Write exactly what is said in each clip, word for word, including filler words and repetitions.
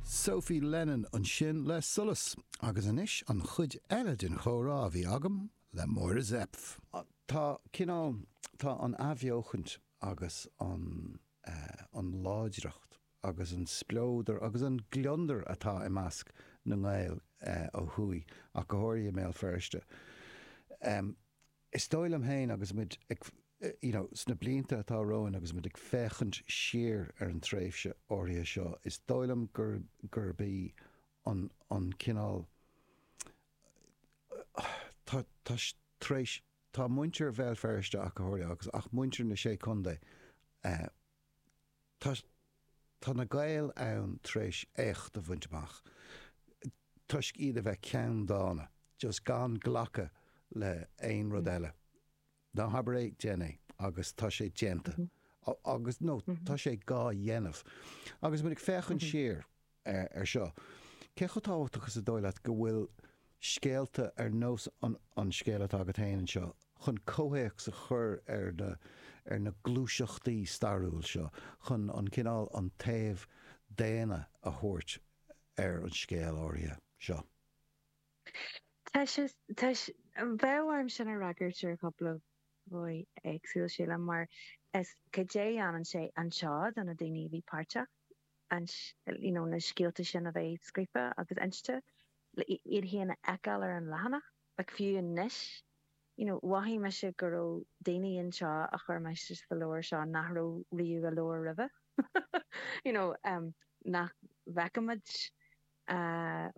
Sophie Lennon ansin le Solas agus anois an chuid eile den chomhrá a bhí agam le Máire Zepf. Tá cineál tá an athbheochaint agus an uh, an láidreacht agus an spleodar agus an gliondar atá i measc na nGael uh, ó thuaidh ach go háirithe i mBéal Feirste. Um, is dóigh liom féin agus muid ag you know, sna blianta atá romhainn agus muid ag féachaint siar ar an tréimhse áirithe seo, is dóigh liom gur gurb í an, an cineál tá tá tréis tá muintir Bhéal Feirste ach go háirithe agus ach muintir na sé chontae uh, tá tá na Gaeil ann tréis éacht a bhaint amach. Toisc iad a bheith ceanndána, just gan glacadh le aon rud eile. Ná habair é déan é agus tá sé déanta. Mm -hmm. agus nó mm -hmm. tá sé á dhéanamh. Agus muid ag féachaint mm -hmm. siar ar, ar seo. Cé chomh tábhachtach is dóigh leat go bhfuil scéalta ar nós an, an scéal atá agat féin anseo chun comhthéacs a chur ar na ar na gluaiseachtaí stairiúil seo chun an cineál an taobh daonna a thabhairt ar an scéal áirithe seo. Tá sé bheadh orm sin a fhreagairt ar chúpla dhóigh éagsúil sílim mar is cad é dhéanann sé anseo do na daoine a bhí páirteach an you know, na scéalta sin a bheith scríofa agus inste iad féin a fheiceáil ar an leathanach like fiú anois you know, mhothaigh mise go raibh daoine anseo a chuir mé sa leabhar seo nach raibh riamh i leabhar roimhe you know, um, nach bhfeicimid uh,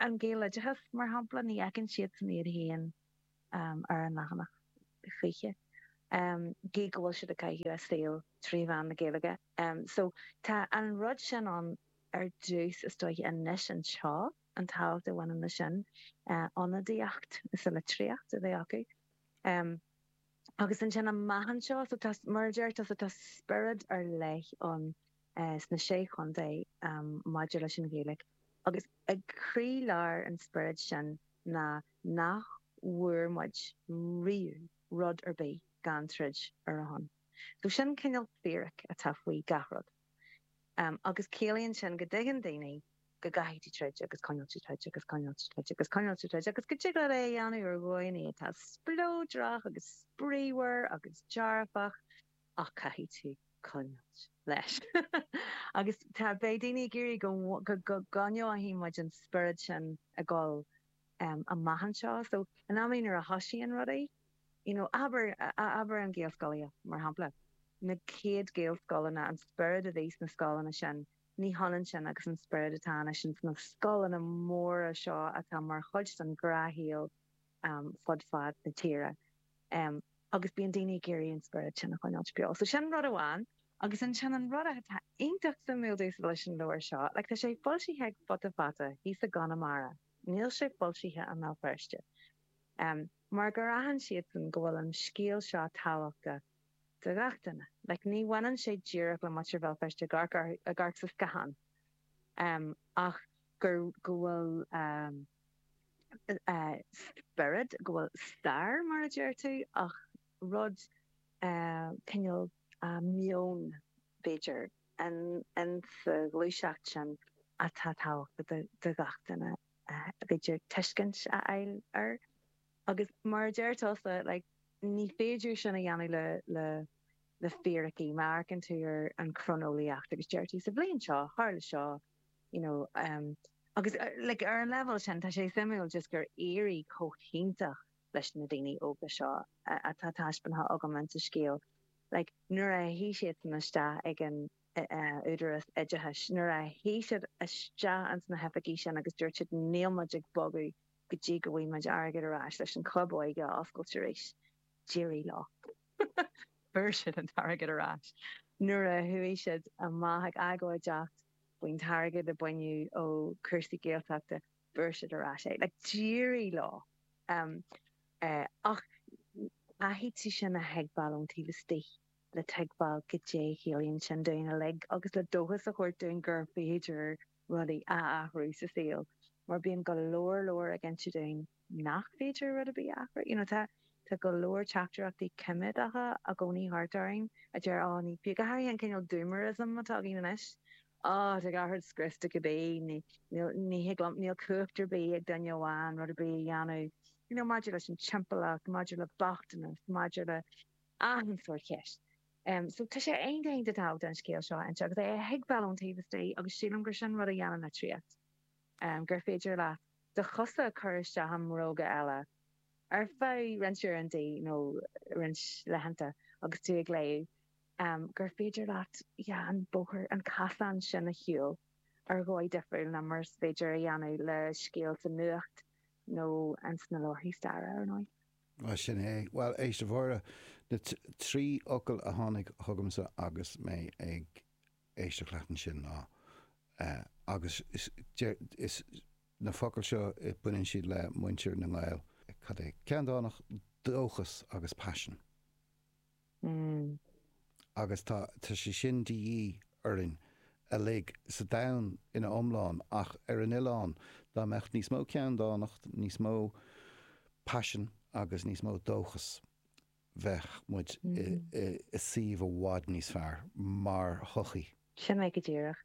an Gaeloideachas mar shampla ní fheiceann siad san iad féin um, ar an leathanach choíche. Um, gí go bhfuil siad ag caitheamh a saol trí mheán na Gaeilge. Um, so tá an rud sin an ar dtús is dóiche anois anseo an tábhacht a bhaineann leis sin uh, ionadaíocht is a litríocht a bheith acu. Um, agus ansin amach anseo so tá mar deir tá tá spiorad ar leith an uh, sna sé chontae um, maidir leis an Ghaeilge. Agus ag croílár an spiorad sin ná nach bhfuair muid riamh rud ar bith gan troid ar a shon. So sin cineál fíric atá faoi gach rud. Um, agus ciallaíonn sin go dtuigeann daoine go gcaithfidh tú troid agus coinneáil troid agus coinneáil troid agus coinneáil troid agus go dtig leat é a dhéanamh ar dhóigh atá spleodrach agus spraíúil agus dearfach ach caithfidh tú coinneáil leis. agus tá beidh daoine ag iarraidh go go go gcoinneoidh muid an spiorad sin ag dul um, amach anseo, so in amanna nuair a thosaíonn rudaí, you know, abair abair an Ghaelscolaíocht mar shampla. Na chéad Ghaelscoileanna an spiorad a bhí sna scoileanna sin, ní hionann sin agus an spiorad atá anois sna scoileanna móra seo atá mar chuid den ghnáthshaol um, fud fad na tíre. Um, agus bíonn daoine ag iarraidh an spiorad sin a choinneáil beo. So sin rud amháin agus ansin an rud atá iontach suimiúil leis an leabhar seo, like tá sé foilsithe ag Futa Fata thíos i gConamara. Níl sé foilsithe i mBéal Feirste. Um, mar gur aithin siadsan go bhfuil an scéal seo tábhachtach do gach duine. Like ní bhaineann sé díreach le muintir Bhéal Feirste ag amharc sa scáthán. Um, ach gur go bhfuil um, uh, spiorad go bhfuil stair mar a deir tú ach rud uh, cineál uh, meon b'fhéidir an an sa ghluaiseacht sin atá tábhachtach do gach duine uh, b'fhéidir tuiscint a fháil air. Agus mar a deir tusa like, ní féidir sin a dhéanamh le le le fíricí má amharcann tú ar an chroineolaíocht agus deir tú sa bhliain seo tharla seo you know um, agus uh, like, ar an level sin tá sé suimiúil just gur éirigh chomh hiontach leis na daoine óga seo atá taispeánta agam sa scéal. Like, nuair a shuigh siad san isteach ag an uh, údarás oideachais, nuair a shuigh siad isteach ins na hoifigí sin agus dúirt siad níl muid ag bogadh go dtí go bhfaighidh muid airgead ar ais leis an club óige a oscailt arís. D'éirigh leo. Fuair siad an t-airgead ar ais. Nuair a chuaigh siad amach ag agóideacht faoin t-airgead a baineadh ó chúrsaí Gaeltachta fuair siad ar ais é. Like, d'éirigh leo. Um, uh, ach caithfidh tú sin a thuigbheáil ón taobh istigh le tuigbheáil goidé a chiallaíonn sin dúinn uilig agus le dóchas a thabhairt dúinn gur féidir rudaí a athrú sa saol. Mar bíonn go leor leor ag inse dúinn nach féidir rud ar bith a athrú. You know, tá tá go leor teachtaireachtaí coimeádacha i gcónaí thart orainn a deir á ní fi go háirithe an cineál doomerism atá againn anois. Oh, tá gach rud scriosta cibé, ní ní thig liom, níl cumhacht ar bith ag duine amháin rud ar bith a dhéanamh, you know, maidir leis an timpeallacht, maidir le bochtanas, maidir le achan sórt ceist. Um, so tá sé iontach iontach tábhachtach an scéal seo a inse agus é a thuigbheáil ón taobh istigh agus sílim gur sin rud a dhéanann litríocht, um, gur féidir leat do chosa a chur isteach i mbróga eile ar feadh roinnt uaireanta nó roinnt laethanta agus tú ag léamh, um, gur féidir leat yeah, an bóthar, an casán sin a shiúl ar dhóigh difriúil ná mar is féidir a dhéanamh le scéal sa nuacht nó ins na leabharthaí staire, ar ndóigh. Bhuel, sin é. Bhuel, éist, a Mháire, na trí fhocal a tháinig chugamsa agus mé ag éisteacht leat ansin ná, agus is na focail seo, baineann siad le muintir na nGael, cad é, ceanndánacht, dóchas agus paisean. Agus tá, tá sé sin de dhíth orainn uilig sa domhan ina iomlán ach ar an oileán, dá mbeadh níos mó ceanndánacht, níos mó paisean agus níos mó dóchas, bheadh muid i suíomh i bhfad níos fearr mar shochaí. Sin é go díreach.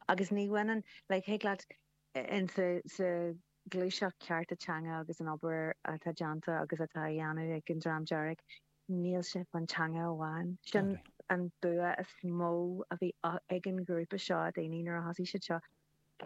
Agus ní bhaineann, like, thig leat, in sa, sa ghluaiseacht cearta teanga agus an obair atá déanta agus atá á dhéanamh ag an Dream Dearg, níl sé faoin teanga amháin. Sin an bua is mó a bhí ag an ghrúpa seo daoine nuair a thosaigh siad seo.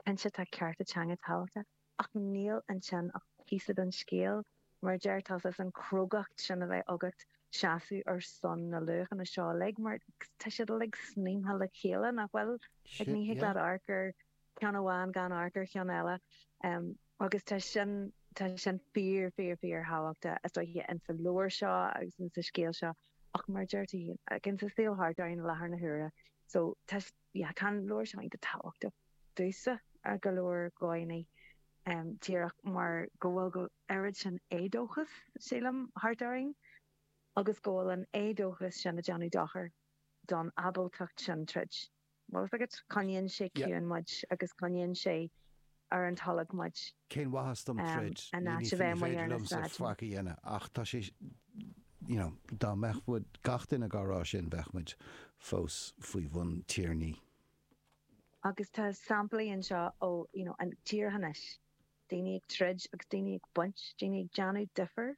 Cinnte tá cearta teanga tábhachtach, ach níl ansin ach píosa den scéal. Mar a deir tusa, is an chrógacht sin a bheith agat seasamh ar son na luachanna seo uilig, mar tá siad uilig snaidhmthe le chéile, nach bhfuil? Like, ní thig leat amharc ar cheann amháin gan amharc ar cheann eile. Agus tá sin, tá sin fíor, fíor, fíor thábhachtach, is dóiche, insa leabhar seo agus insa scéal seo, ach mar a deir tú féin, like, insa saol thart orainn i láthair na huaire. So, tá, yeah, tá an leabhar seo iontach tábhachtach domhsa ar go leor dóigheanna, díreach mar go bhfuil an oiread sin éadóchas, sílim, thart orainn agus go bhfuil an éadóchas sin ag déanamh dochar don ábaltacht sin troid. Bhfuil fhios agat? Coinníonn sé ciúin muid agus coinníonn sé ar an tolg muid. Cén mhaitheas dom troid? In Ní áit a bheith amuigh féidir ar na liomsa sráideanna. faic a dhéanamh ach tá sé, you know, dá mbeadh muid, gach duine dhá rá sin, bheadh muid fós faoi bhun tiarnaí. Agus tá samplaí anseo ó, you know, an tír anois, daoine ag troid agus daoine ag baint, daoine ag déanamh difear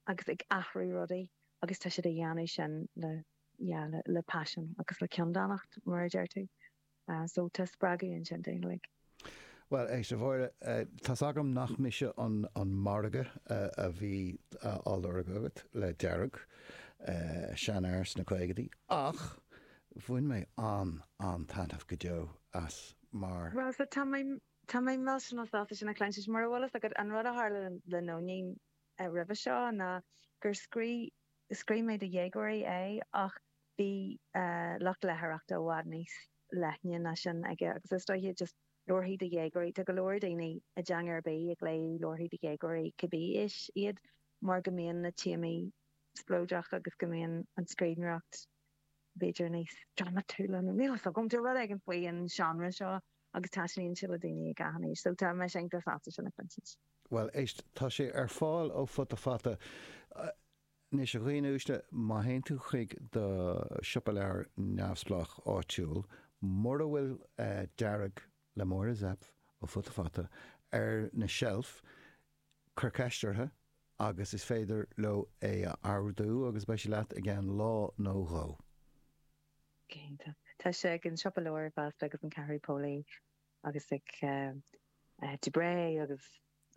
agus ag athrú rudaí agus tá siad a dhéanamh sin le, yeah, le, le paisean agus le ceanndánacht, mar a deir tú. Uh, so tá spreagadh ansin dúinn uilig. Bhuel, éist, a Mháire, tá's agam nach mise an, an margadh a bhí á lorg agat le Dearg, seanfhear sna caogaidí, ach bhain mé an, an-taitneamh go deo as mar. Bhuel, so tá mé, tá mé millteanach sásta sin a chluinstin, mura bhfuil fhios agat, an rud a tharla le Nóinín roimhe seo ná gur scríobh, scríobh mé do dhéagóirí é ach bhí lucht léitheoireachta i bhfad níos leithne ná sin aige agus is dóiche just leabharthaí do dhéagóirí, tá go leor daoine i dteanga ar bith ag léamh leabharthaí do dhéagóirí cibé aois iad mar go mbíonn na téamaí spleodrach agus go mbíonn an scríbhneoireacht b'fhéidir níos drámatúla nó níl fhios agam, tá rud éigin faoi an seánra seo agus taitníonn sé le daoine ag achan aois so tá mise iontach sásta sin a chluinstin. Bhuel, éist, tá sé ar fáil ó Futa Fata. Anois, a dhaoine uaisle, má théann tú chuig do siopa leabhar neamhspleách áitiúil, mura bhfuil Dearg le Máire Zepf ó Futa Fata ar na seilf, cuir ceist orthu agus is féidir leo é a ordú agus beidh sé leat i gceann lá nó dhó. Cinnte. Tá sé ag an siopa leabhar fosta agus an Ceathrú Póilí agus ag Dubray agus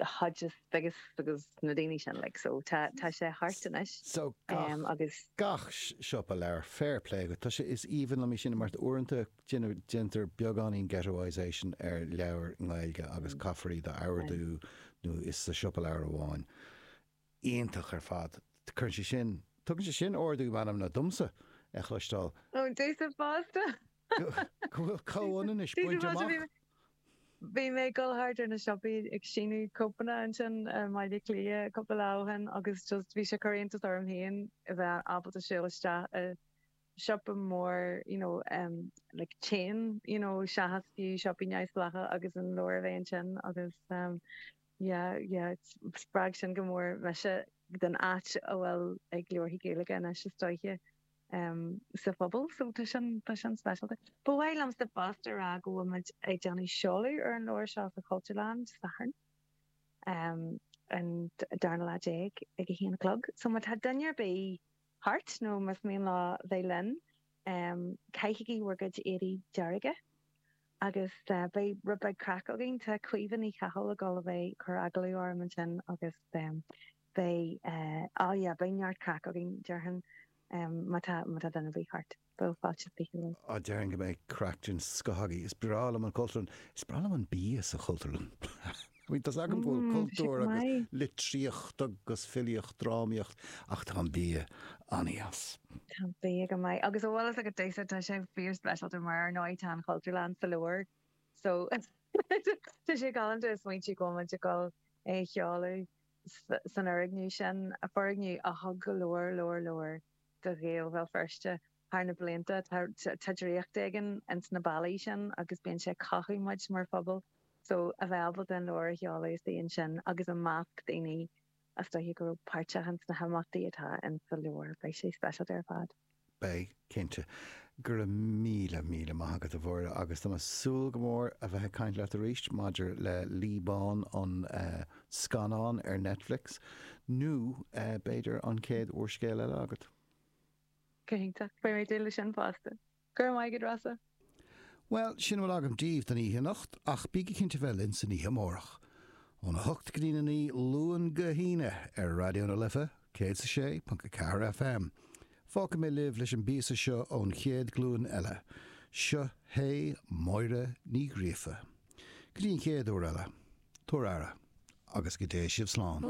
Hodges Figgis agus na daoine sin like so tá tá sé thart anois. So gach um, agus gach siopa leabhar fair play agat. Tá sé is aoibhinn liom é sin mar uaireanta déantar beagáinín ghettoisation ar leabhair i nGaeilge agus mm. caithfear iad a ordú nó is sa siopa leabhar amháin. Iontach ar fad. Cuireann sé sin tugann sé sin ardú meanmna domsa a chloisteáil. Ó domhsa fosta. Go bhfuil comhionannais bainte amach. Bhí mé ag dul thart ar na siopaí ag síniú cóipeanna ansin i mBaile Átha Cliath cúpla lá ó shin agus just bhí sé ag cur iontas orm féin a bheith ábalta siúl isteach i siopa mór you know um, like chain you know seachas fiú siopaí neamhspleácha agus an leabhar a bheith ansin agus um, yeah yeah spreag sin go mór mise den áit a bhfuil ag leabharthaí Gaeilge anois is dóiche. sa phobal so tá sin tá sin speisialta. Ba mhaith liomsa fosta a rá go bhfuil muid ag déanamh seoladh ar an leabhar seo sa Chultúrlann Dé Sathairn an darna lá déag ag a haon a chlog. So má tá duine ar bith thart nó más mian leo bheith linn, caithigí bhur gcuid éadaí dearga agus beidh rud beag craic againn. Tá Caoimhe Ní Chathail ag dul a bheith ag cur agallamh orm ansin agus beidh, oh yeah, beidh neart craic againn déarfainn. Má tá má tá duine ar bith thart, bheadh fáilte fiche romhat. Á, déarfainn go mbeidh craic den scoth agaibh. Is breá liom an Chultúrlann. Is breá liom an bia sa Chultúrlann. I mean, tá's agam go bhfuil cultúr agus litríocht agus filíocht, drámaíocht, ach tá an bia an-deas. Tá an bia go maith. Agus an bhfuil fhios agat domhsa, tá sé fíor-speisialta mar ar ndóigh tá an Chultúrlann sa leabhar. So tá sé galánta a smaointiú go bhfuil muid ag dul é a sheoladh san fhoirgneamh sin, foirgneamh a thug go leor, leor, leor do Ghaeil Bhéal Feirste thar na blianta. Tá draíocht éigin ins na ballaí sin agus bíonn sé ag cothú muid mar phobal. So a bheith ábalta an leabhar a sheoladh istigh ansin agus i measc daoine is dóiche go raibh páirteach ins na himeachtaí atá ins sa leabhar, beidh sé speisialta ar fad. Beidh, cinnte. Go raibh míle, míle maith agat, a Mháire, agus tá mé ag súil go mór a bheith ag caint leat arís maidir le Lí Bán, an scannán ar Netflix, nó b'fhéidir an chéad úrscéal eile agat. Go hiontach. Beidh mé ag dúil leis sin fosta. Go raibh maith agat, Rossa. Bhuel, sin a bhfuil agam daoibh don oíche anocht, ach bígí cinnte bheith linn san oíche amárach. Óna hocht go dtína naoi, Luan go hAoine, ar Raidió na Life, céad is a sé ponc a ceathair FM. Fágfaidh mé libh leis an bpíosa seo ón chéad ghlúin eile. Seo hé Máire Ní Ghríofa. Go dtí an chéad uair eile, tabhair aire, agus go dté sibh slán.